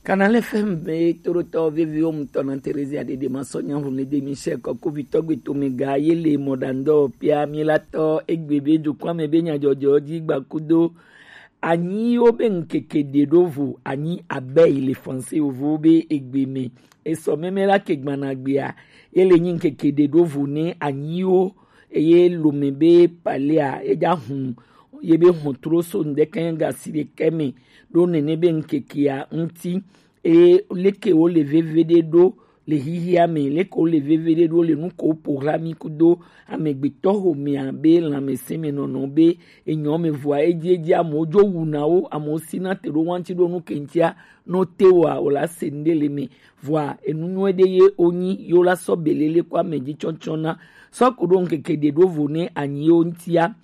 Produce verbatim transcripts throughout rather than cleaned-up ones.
Kanale F M be toɖotɔ veviwo ŋutɔ na Terezia Dede Masɔ Nyahun le de Michel Kɔkovitɔ gbe tome ga ye le mɔɖaŋdɔ pia mi la tɔ egbe be dukɔa me be nyadzɔdzɔ dzi gbakudo anyi wo be ŋkeke ɖe ɖo vo anyi abe yi le français yovo be egbe me esɔ meme la ke gbana gbea ye le nyi ŋkeke ɖe ɖo vo ne anyi wo eye lome be palea edza hun ye be hɔn tro so ŋdɛkɛ gasi ɖekɛ me ɖo nene be ŋkekea ŋuti. Eye leke wo le veve ɖe ɖo le hihia me, leke wo le veve ɖe ɖo le nu ko ƒo hla mi kudo amegbetɔ xomea be lãmesẽ me nɔnɔ be enyɔ me vɔa edzi edzi amewo dzo wuna wo, amewo sina te ɖo wanti ɖo nu ke ŋutia no te woa o la se ŋɖe le me vɔa enu nyuie ɖe ye wonyi yo la sɔ belele ko ame dzi tsɔtsɔ na sɔ ko ɖo ŋkeke ɖe ɖo vo ne anyi wo ŋutia.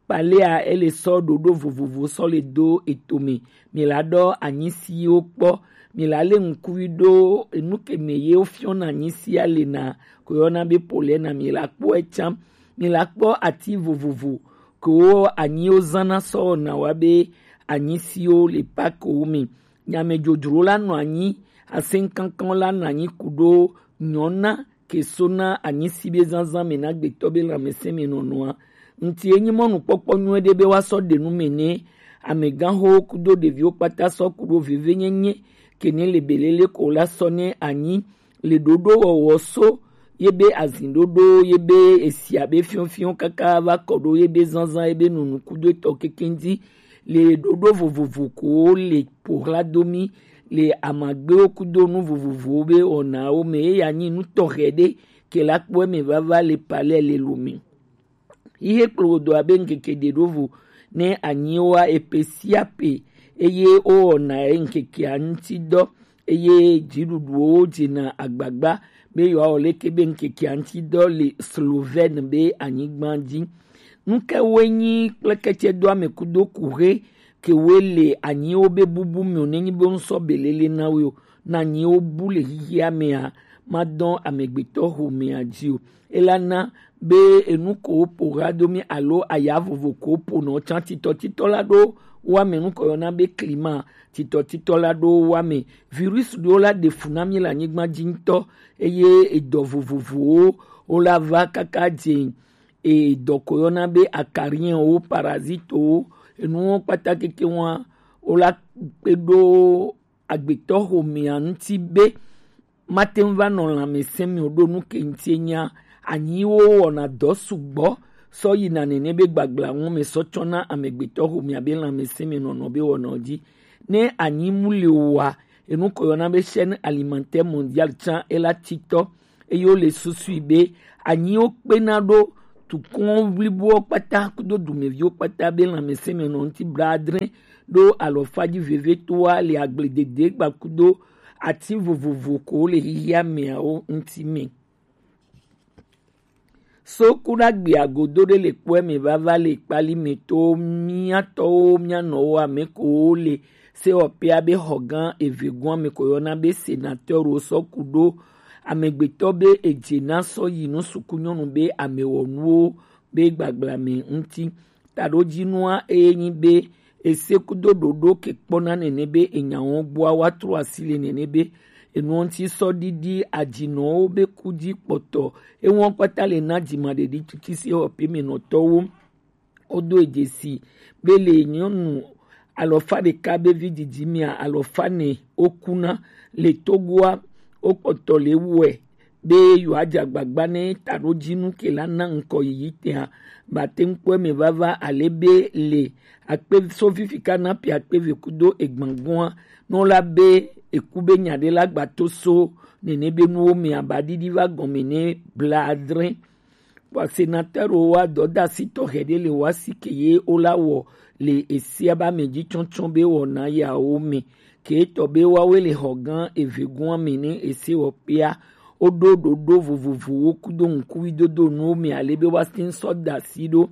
Palea ele sɔ ɖoɖo vovovo sɔ le do etome. Mi la ɖɔ anyi siwo kpɔ. Mi la le ŋkui ɖo enu ke me ye wofiɔna anyi sia le na ko yɔna be polɛ na mi la kpɔ etsam. Mi la kpɔ ati vovovo ko anyiwo zana sɔ na wa be anyi siwo le pakiwo me. Nyamedzodzro la nɔ anyi, asɛnkankan la nɔ anyi ku ɖo nyɔna ke so na anyisi be zazã me na gbetɔ be lãmesẽ me nɔnɔa. Ŋti enyi mɔnukpɔkpɔ nyuie ɖe be woasɔ ɖe nu me ne amegãxowo kudo ɖeviwo kpata sɔ ku ɖo vevenyenye ke ne le belele ko la sɔ ne anyi le ɖoɖo wɔwɔ so ye be azin ɖoɖo ye be esi abe fiɔfiɔ kaka va kɔ ɖo ye be zazã ye be nunu kudo etɔ kekeŋ dzi le ɖoɖo vovovo ko le ƒo xla do mí le amagbewo kudo nu vovovowo be wɔnawo me. Eya nyi nu tɔxɛ ɖe ke la kpɔ eme vava le palɛ le lo me. Ihe kplodo abe ŋkeke ɖe ɖo vo ne anyiwoa epe sia pe eye wowɔna ŋkekea ŋuti dɔ eye dziɖuɖuwo dzena agbagba be yewoawɔ leke be ŋkekea ŋuti dɔ le Slovène be anyigba dzi. Nu ke woe nyi kple ketsɛdoame kudo kuxe ke woe le anyiwo be bubu me o, nenyi be ŋusɔ belele na wo o, na anyiwo bu le xixia mea, madɔ amegbetɔ xomea dzi o. Elana be enu ko woƒo ɣadomi alo aya vovo ko woƒonɔ tsã titɔtitɔ la ɖo woame nu ko yɔna be klima titɔtitɔ la ɖo woame. Virus ɖewo la ɖe fu na mí le anyigba dzi ŋutɔ eye edɔ vovovowo wo la va kaka dze edɔ ko yɔna be akariɛnwo, parazitowo, enuwo kpata keke wa wo la kpe ɖo agbetɔ xomea ŋuti be mate ŋu va nɔ lãmesẽ me o ɖo nu ke ŋuti enya anyiwo wɔna dɔ sugbɔ sɔ yina nene be gbagbla ŋu me sɔ tsɔna amegbetɔ xomea be lãmesẽ me nɔnɔ be wɔnɔ dzi. Ne anyi mu le oa, enu ko yɔna be chaîne alimentaire mondiale tsã ela titɔ eye wole susui be anyiwo kpena ɖo tukɔ blibowo kpata kudo dumeviwo kpata be lãmesẽ me nɔ ŋuti bla adre ɖo alɔfa dzi vevetoa le agbledede gbakudo ati vovovo ko le xixia meawo ŋuti me. So ku ɖagbe agodo ɖe le kpɔe me vava le kpali me to mía tɔwo mía nɔwo ame kowo le sewɔƒea be xɔ gã eve gɔa me ko yɔna be sénateur wo sɔ ku ɖo amegbetɔ be edze na sɔ yi nu suku nyɔnu be amewɔnuwo be gbagbla me ŋuti. Taɖodzinua eye nyi be ese kudo ɖoɖo ke kpɔna nene be enyawo gbɔa woatrɔ asi le nene be enuɔ ŋuti sɔ ɖiɖi ajinɔwo be ku dzi kpɔtɔ eŋɔ kpata le na dzimaɖeɖi tutu se xɔ pɛmɛnɔtɔwo. Wodo dzesi be le nyɔnu alɔfa ɖeka be vi didi mea alɔfa ne wokuna le Togoa wokpɔtɔ le wɔe be yewoadze agbagba ne taɖodzinu ke la na ŋkɔ yiyi tea bate ŋu kpɔ eme vava ale be le akpe so fifi ka na pi akpe ve kudo egbangbɔa nɔ la be eku be nya ɖe la gbato so nene be nuwo me aba ɖiɖi va gɔme ne bla adre. Vɔ senatɛrwo wa dɔdasi tɔxɛ ɖe le wa si ke ye wo la wɔ le esia ba me dzi tsɔtsɔ be wɔna yawo me ke etɔ be wawoe le xɔ gã eve gɔa me ne ese wɔ kpea woɖo ɖoɖo vovovowo kudo ŋkuvidodo nuwo me ale be woate ŋu sɔ da asi ɖo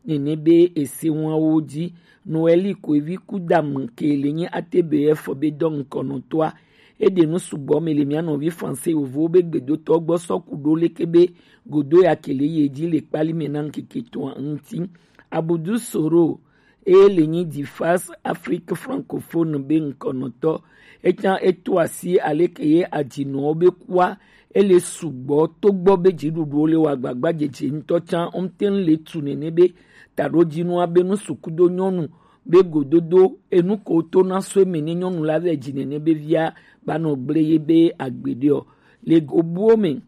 nene be ese wawo dzi. Noeli ko evi ku dame ke le nye atebe efɔ be dɔ ŋkɔnɔtɔa eɖe nu sugbɔ me le mía nɔvi français yovowo be gbedotɔ gbɔ sɔ ku ɖo leke be godo ya ke le ye dzi le kpali me na ŋkeke etɔ̃a ŋuti. Abudu Soro eye le nyi Difas Afrique Francophone be ŋkɔnɔtɔ. Etsã eto asi aleke ye ajinɔwo be kua ele sugbɔ togbɔ be dziɖuɖuwo le wa agbagba dzedze ŋutɔ tsã, womte ŋu le tu nene be taɖodzinua be nu sukudo nyɔnu be gododo enu ko to na so eme ne nyɔnu la vɛ dzi nene be via ba nɔ gble ye be agbeɖe ɔ. Le go buwo me,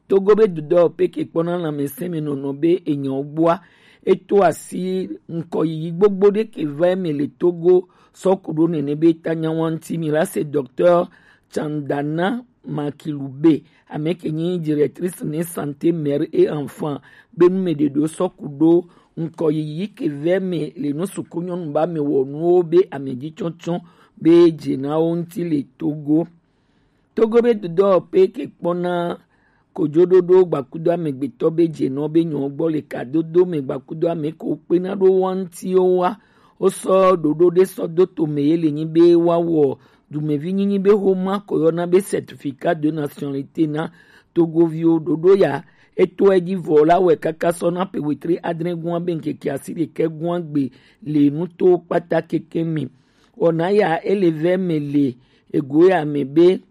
Togo be dudɔ peke kpɔna lãmesẽmenɔnɔ be enyawo gbɔa, eto asi ŋkɔyiyi gbogbo ɖe ke va eme le Togo sɔ ku ɖo nene be ta nyawa ŋuti. Mi la se Docteur Chandana Makilube, ame ke nyi directrice ne santé mère et enfant, be nu me ɖeɖo sɔ ku ɖo ŋkɔyiyi ke va eme le nu suku nyɔnu ba me wɔ nuwo be ame dzi tsɔtsɔ be dze na wo ŋuti le Togo. Togo be dudɔ pe ke kpɔna kojoɖoɖo gbakudo amegbetɔ be dzenɔ be nyɔ gbɔ le kadodo me gbakudo ame ko kpena ɖo wa ŋuti wo wa. Wo sɔ ɖoɖo ɖe sɔ do to me ye le nyi be wa wɔ dumevi nyinyi be xoma ko yɔna be certificat de nationalité na Togoviwo. Ɖoɖo ya eto edzi vɔ la wɛ kaka sɔ na pe wetri adre gua be ŋkeke asi ɖekɛ gua gbe le nuto kpata keke me. Wɔna ya ele vɛ me le ego ya me be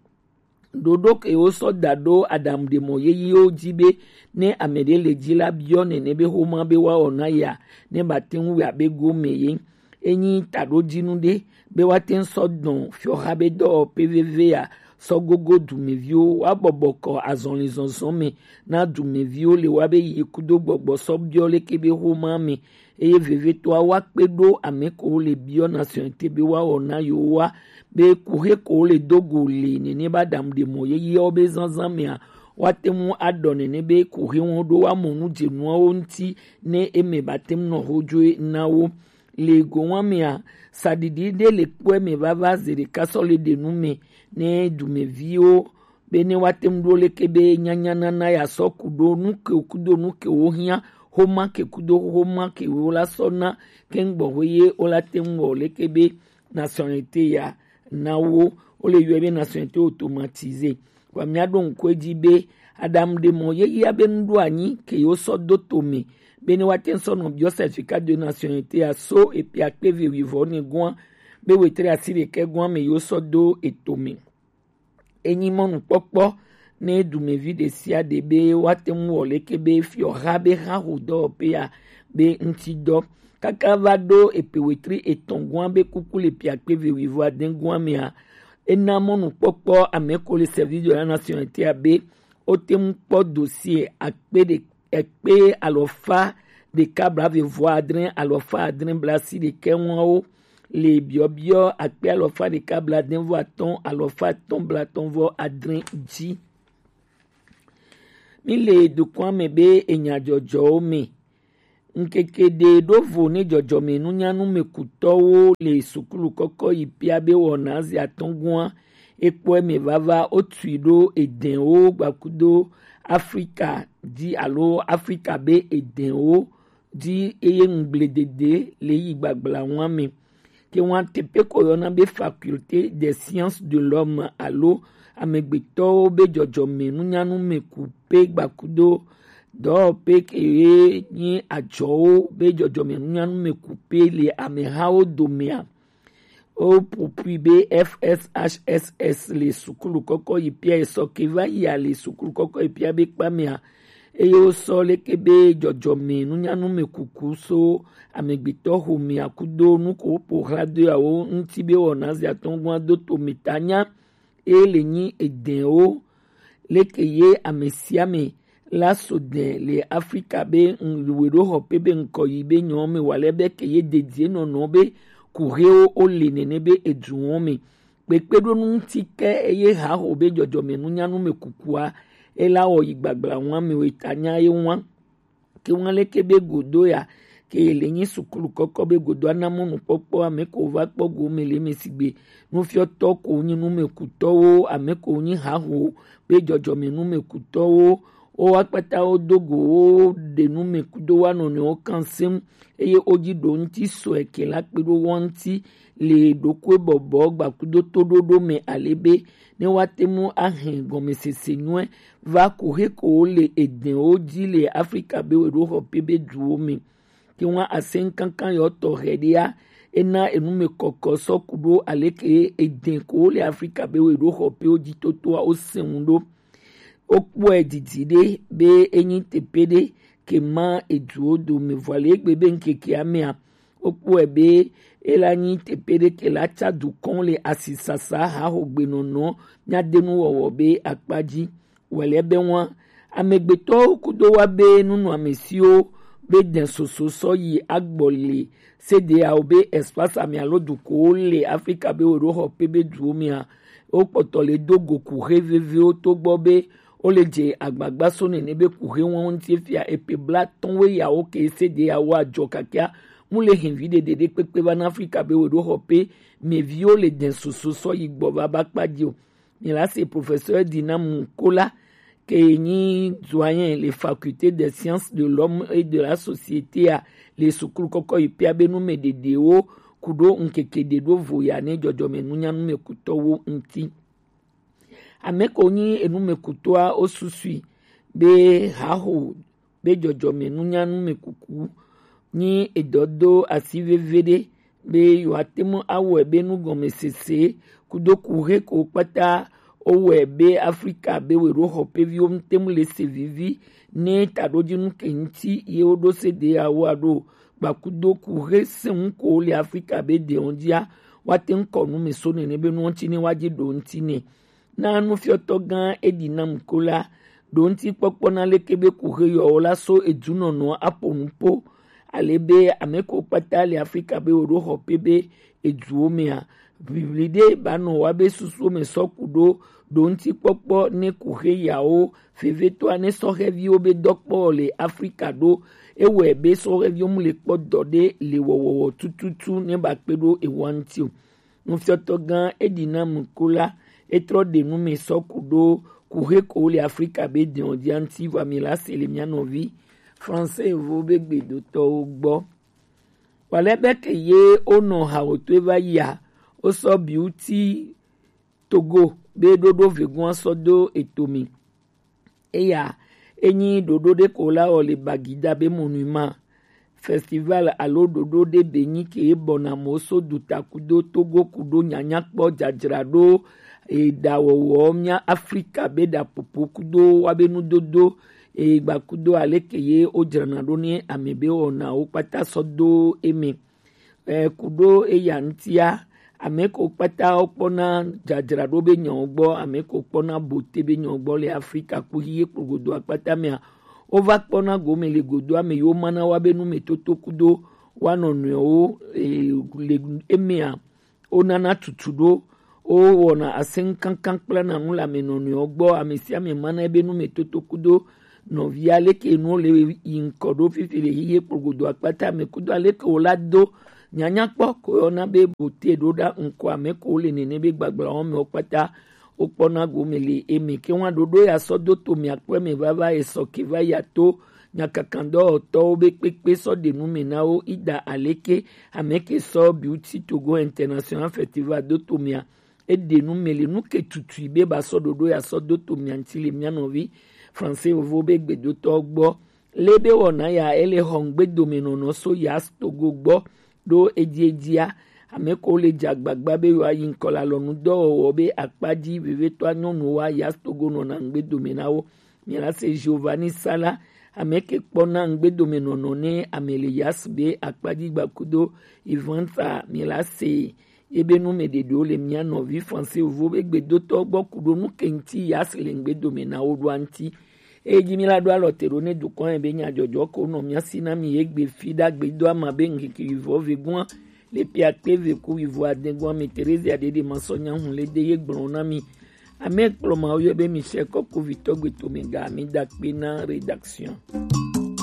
ɖoɖo ke wo sɔ da ɖo aɖaŋuɖemɔ yeyewo dzi be ne ame ɖe le dzi la biɔ nene be xoma be woawɔ na ya ne ba te ŋu wia be gome ye. Enyi taɖodzinu ɖe be woate ŋu sɔ dɔn fiɔxa be dɔwɔƒe veve ya sɔ gogo dumeviwo woabɔbɔ kɔ azɔlizɔzɔ me na dumeviwo le wa be yi kudo gbɔgbɔ sɔ biɔ leke be xoma me eye vevietɔa woakpe ɖo ame ko le biɔ nationalité be woawɔ na yewoa be kuxe ko le do go le nene ba ɖaŋuɖemɔ yeyeawo be zazã mea woate ŋu aɖɔ nene be kuxe wɔn ɖo woamɔ nu dzenuawo ŋuti ne eme ba te ŋu nɔ xodzoe na wo. Le go wa mea, saɖiɖi ɖe le kpɔe me vava ze ɖeka sɔ le ɖe nu me ne dumeviwo be ne woate ŋu ɖo leke be nyanyanana ya sɔ ku ɖo nu ke kudo nu ke wo hiã xoma ke kudo xoma ke wo la sɔ na ke ŋgbɔ ho ye wo la te ŋu wɔ leke be nationalité ya na wo. Wo le yɔe be nationalité automatisée. Wa mia ɖo ŋku edzi be aɖaŋuɖemɔ yeyea be nu ɖo anyi ke yewo sɔ do to me be ne woate ŋu sɔ nɔ biɔ certificat de nationalité ya so epe akpe ve wuivɔ ne gua be wetre asi ɖekɛ gua me yewo sɔ do eto me. Enyi mɔnukpɔkpɔ ne dumevi ɖe sia ɖe be woate ŋu wɔ leke be fiɔha be hã ho dɔwɔƒea be ŋuti dɔ. Kaka va ɖo epe wetri etɔ̃ gua be kuku le pe akpe ve wuivɔ ade gua mea, ena mɔnukpɔkpɔ ame ko le service de la nationalité be wote ŋu kpɔ dossier akpe ɖe ekpe alɔfa ɖeka blaeve vɔ adre alɔfa adre blaasi ɖekɛ ŋuawo le biɔbiɔ akpe alɔfa ɖeka blaadre vɔ atɔ̃ alɔfa atɔ̃ blaatɔ̃ vɔ adre dzi. Mi le dukɔa me be enyadzɔdzɔwo me. Ŋkeke ɖe ɖo vo ne dzɔdzɔme nunyanu me kutɔwo le sukulu kɔkɔ yi pia be wɔna zi atɔ̃ gua. Ekpɔe me vava wotui ɖo edɛnwo gbakudo Afrika dzi alo Afrika be edɛnwo dzi eye ŋugbledede le yi gbagbla ŋua me. Ke ŋua teƒe ko yɔna be Faculté des Sciences de l'Homme alo amegbetɔwo be dzɔdzɔme nunyanu me ku pe gbakudo dɔwɔƒe ke ye nyi adzɔwo be dzɔdzɔme nunyanu me ku pe le amehawo domea. Woƒo ƒui be F S H S S le sukulu kɔkɔ yi pia esɔ ke va yia le sukulu kɔkɔ yi pia be kpamea eye wosɔ leke be dzɔdzɔme nunyanu me kuku so amegbetɔ xomea kudo nu ko woƒo xla doawo ŋuti be wɔna zi atɔ̃ gua do to me ta nya eye le nyi edɛnwo leke ye ame sia ame la so dɛ le Afrika be ŋ- weɖo xɔ pe be ŋkɔ yi be nyɔ me wa le be ke ye dedie nɔnɔ be kuhewo o le nene be eduwo me kpekpeɖonu ŋuti ke eye haho be dzɔdzɔme nunyanu me kukua ela wɔ yi gbagbla ŋua me weta nya ye ŋua. Ke ŋua leke be godo ya ke le nyi sukulu kɔkɔ be godo ana mɔnukpɔkpɔ ame ko va kpɔ go me le me sigbe nufiɔtɔ ko nyi numekutɔwo ame ko nyi haho be dzɔdzɔme numekutɔwo wo akpata wo do go wo ɖe nume kudo wa nɔnɔewo kan seŋ eye wo dzi ɖo ŋuti sɔe ke la kpe ɖo wo ŋuti le ɖokuibɔbɔ gbakudo toɖoɖo me ale be ne woate ŋu ahe gɔmesese nyuie va kuxe ko wole edɛnwo dzi le Afrika be weɖoxɔƒe be duwo me. ke wan asen kankan yɔ tɔ hɛ ɖe ya, e na enumɛ kɔkɔ sɔ ku ɖo aleke eden ko le Afrika be we ɖo xɔ pe wo ji toto a wo sɛn wu ɖo. Wo kpɔɛ didi ɖe be e nyi teƒe ɖe ke ma eduwo dome, vɔ le egbe be ŋkeke amea, wo kpɔɛ be e la nyi teƒe ɖe ke la ca dukɔn le asisasa haxogbenɔnɔ nyadenu wɔwɔ be akpa ji. Wɛlɛ be ŋua, amegbetɔwo kudo wa be nunɔamesiwo be dɛn soso sɔ yi agbɔ le sedeawo be espace ame alo dukowo le Afrika be wo ɖo xɔ pe be duwo mea, wo kpɔtɔ le do go kuxe veviwo to gbɔ be wo le dze agbagba so nene be kuxe wɔn ŋuti fia epe bla tɔn we yawo ke sedeawo ajɔ kakia mu le hin vi ɖeɖe ɖe kpekpe va na Afrika be wo ɖo xɔ pe meviwo le dɛn soso sɔ yi gbɔ va ba kpa ji o. Mi la se professeur Dina Mukola ke nyi doyen le faculté des sciences de l'homme et de la société a le sukulu kɔkɔ yi pia be numɛ ɖeɖewo ku ɖo ŋkeke ɖe ɖo vo ya ne jɔjɔme nunya numɛ kutɔwo ŋuti. Ame ko nyi enumɛ kutɔa o susui be haxo be jɔjɔme nunya numɛ kuku nyi edɔ do asi veve ɖe be yewoate ŋu awɔe be nugɔmesese kudo kuxe ko kpata wowɔe be Afrika be we ɖo xɔ pe viwo ŋute mu le se vivi ne taɖodzinu ke ŋuti ye woɖo se de yawo aɖo gbakudo kuxe sɛn ko le Afrika be de wɔn dzia woate ŋu kɔ nu me so nene be nuwo ŋuti ne woadzi ɖo ŋuti nɛ. Na nufiɔtɔ gã Edinam Kola ɖo ŋuti kpɔkpɔ na leke be kuxe yɔwo la so edunɔnɔ aƒo nu po ale be ame ko kpata le Afrika be wo ɖo xɔ pe be eduwo mea, ʋiʋli ɖe ba nɔ wa be susuwo me sɔ ku ɖo ɖo ŋuti kpɔkpɔ ne kuxe yawo vevetɔa ne sɔhɛviwo be dɔkpɔ le Afrika ɖo ewɔe be sɔhɛviwo mu le kpɔ dɔ ɖe le wɔwɔwɔ tututu ne ba kpe ɖo ewa ŋuti o. Nufiɔtɔ gã Edinam Kola etrɔ ɖe nu me sɔ ku ɖo kuxe ko le Afrika be dɛn ɔdia ŋuti vɔ mi la se le mia nɔvi français evo be gbedotɔwo gbɔ. Wale be ke ye wonɔ hawotoe va yia wosɔ biuti Togo be ɖoɖo vegun asɔ do eto mi. Eya enyi ɖoɖo ɖe ko la wɔ le Bagida be monument festival alo ɖoɖo ɖe be nyi ke bɔna mo so duta kudo Togo kudo nyanya kpɔ dzadzra ɖo eɖawɔwɔ mia Afrika be ɖapopo kudo wa be nudodo egba kudo aleke ye wo dzrana ɖo ne ame be wɔna wo kpata sɔ do eme. Eh, kudo eya ŋutia, ame ko kpata wokpɔna dzadzraɖo be nyawo gbɔ, ame ko kpɔna bote be nyawo gbɔ le Afrika kpo hiye kplogodo akpata mea, wova kpɔna gome le godo ame yiwo mana wa be nu me toto kudo wa nɔnɔewo eh, le emea wonana tutu ɖo wowɔna asɛnkankan kple nanu le ame nɔnɔewo gbɔ, ame sia ame mana ebe nu me toto kudo nɔvia leke nuwo le yi ŋkɔ ɖo fifi le hihe kplogodo akpata me kudo aleke wo la do nyanya kpɔ ko yɔna be bote ɖo ɖa ŋkɔ ame ko le nene be gbagblawo me wo kpata wokpɔna gome le eme ke wa ɖoɖo ya sɔ do to mia kpɔ eme vava esɔ ke va ya to nyakakandɔwɔtɔwo be kpekpe sɔ ɖe nu me na wo ida aleke ame ke sɔ Beauty Togo International Festival do to mia eɖe nu me le nu ke tutui be ba sɔ ɖoɖo ya sɔ do to mia ŋuti le mia nɔvi français vovo be gbedotɔ gbɔ le be wɔna ya ele xɔ ŋgbedomenɔnɔ so ya Togo gbɔ ɖo edziedzia ame ko le dze agbagba be yewoayi ŋkɔ le alɔnudɔwɔwɔ be akpa dzi vevetɔa nyɔnuwo ya Togo nɔna ŋgbedome na wo. Mila se Giovanni Sala ame ke kpɔna ŋgbedomenɔnɔ ne ame le yas be akpa dzi gbakudo Ivanta Mila se ebe nu me ɖeɖewo le mia nɔvi français vovo be gbedotɔ gbɔ ku ɖo nu ke ŋuti yas le ŋgbedome na wo ɖoa ŋuti. Eye dzi mi la ɖo alɔ te ɖo ne dukɔ yɛ be nyadzɔdzɔ ko nɔ mia si na mi ye gbe fi ɖagbe do ama be ŋkeke vivɔ vegua le pia kpe ve ku vivɔ adegua mi Terezia ɖeɖe ma sɔ nya hun le de ye gblɔ na mi. Ame kplɔ ma wo yɔ be Michel Kɔkovitɔ gbe to me ga mi da kpe na rédaction.